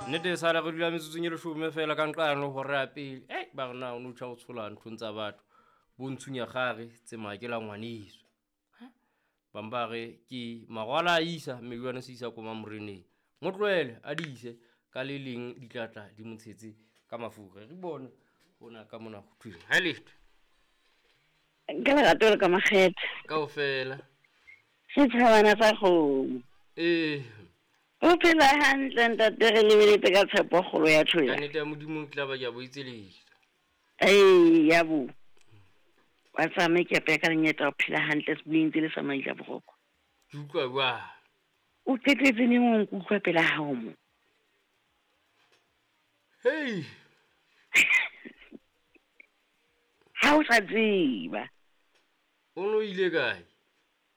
Nnete e sala re dula metsotsong e leshome fela ka nqano hora ya pele. Ei, ba re na o no tjha o tshola nthong tsa batho. Bo ntshunya kgare tsemaya ke la ngwaneso. Bang ba re ke marwala a isa mme jwane se isa koma moreneng. Mo tlohele a di ise ka le leng di tla tla di mo tshetse ka mafura. Re bone hona ka mona ho thweng. Ha letho. Ka lerato le ka makgethe. Kaofela. Setjhabana sa kgomo. Ee. O phela hantle ntate, re lebeletse ka tshepo kgolo ya Ka nnete ya Modimo ke tla ba ke a boitseletsa. Ee, ya bo. Wa tsamaye ke apeya ka lenyeta o phela hantle se bueng le sa maila boroko. Ke utlwa jwang? O qetetse neng o nkutlwa pela hao mo? Hei. Ha o sa tseba. O no ile kae?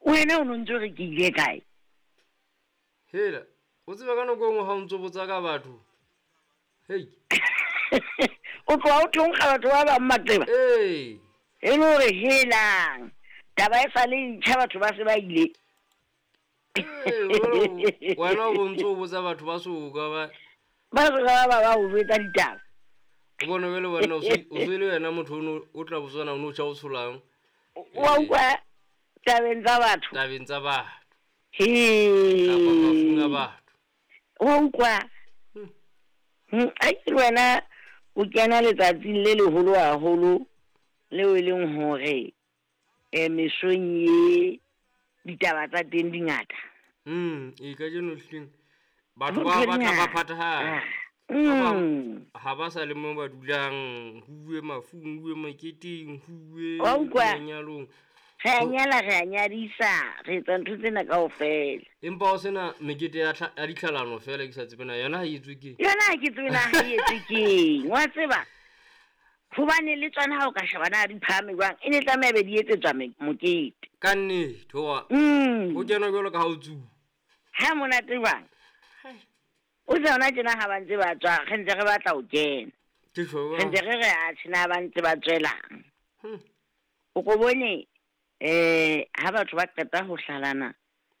Wena o no ntse re ke ile kae? Hela, o tseba ka nako e nngwe ha o ntso botsa ka batho. Hei. O tloha o thonkga batho ba bang matseba. Ee. E le hore helang. Taba e sa le ntjha batho ba se ba ile. Ee, wena o bontse o botsa batho ba soka ba. Ba soka ba ba ba o jwetsa ditaba. O bone jwale wena o se le wena motho o tla botswana o no tjha o tsholang. Wa utlwa tabeng tsa batho. Tabeng tsa batho. He. Kapa mafung a batho. Wa utlwa. Ai le wena o kena letsatsing le leholo haholo leo e leng hore mesong ye ditaba tsa teng di ngata. E kajeno hleng batho ba batla ba phathahana. Ha ba sa le mo ba dulang, huwe mafung, huwe moketeng, huwe manyalong. Re a nyala, re a nyadisa, re etsa ntho tsena kaofela. Empa o sena mekete ya ditlhalano fela ke sa tsebe na yona ha e etswe keng? Yona ha ke tsebe na ha e etswe keng, wa tseba? Hobane le tsona ha o ka sheba na di phahame jwang, e ne tlameha be di etsetswa mokete. Ka nnete, hoba ho kena jwalo ka ha o tsuba. Ha monate jwang? O tsona tjena ha ba ntse ba tswa, re ntse re batla ho kena. Ke tjho. Re ntse re re a tjena ba ntse ba tswelang. O ko bone ha batho ba qeta ho hlalana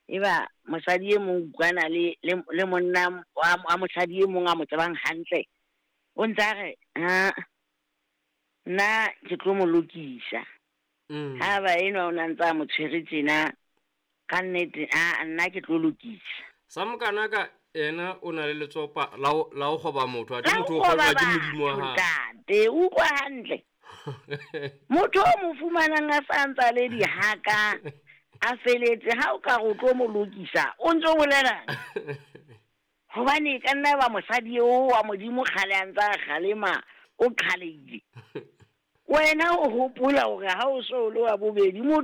e ba mosadi e mong utlwana le monna wa mosadi e mong a mo tsebang hantle. O ntse a re ha nna ke tlo mo lokisa. Ha ba enwa o na ntse a mo tshwere tjena ka nnete a nna ke tlo lokisa. Sa mokana ka ena o na le letsopa la ho kgoba motho, athe motho o kgojwa ke Modimo wa hae. Ntate, utlwa hantle. Motho o mo fumanang a sa ntsa le dihaka a feletse ha o ka re o tlo mo lokisa o ntso bolelang. Hobane ka nna ba mosadi eo wa Modimo kgale a ntsa kgalema o qhaleile. Wena o hopola hore ha o so le wa bobedi motho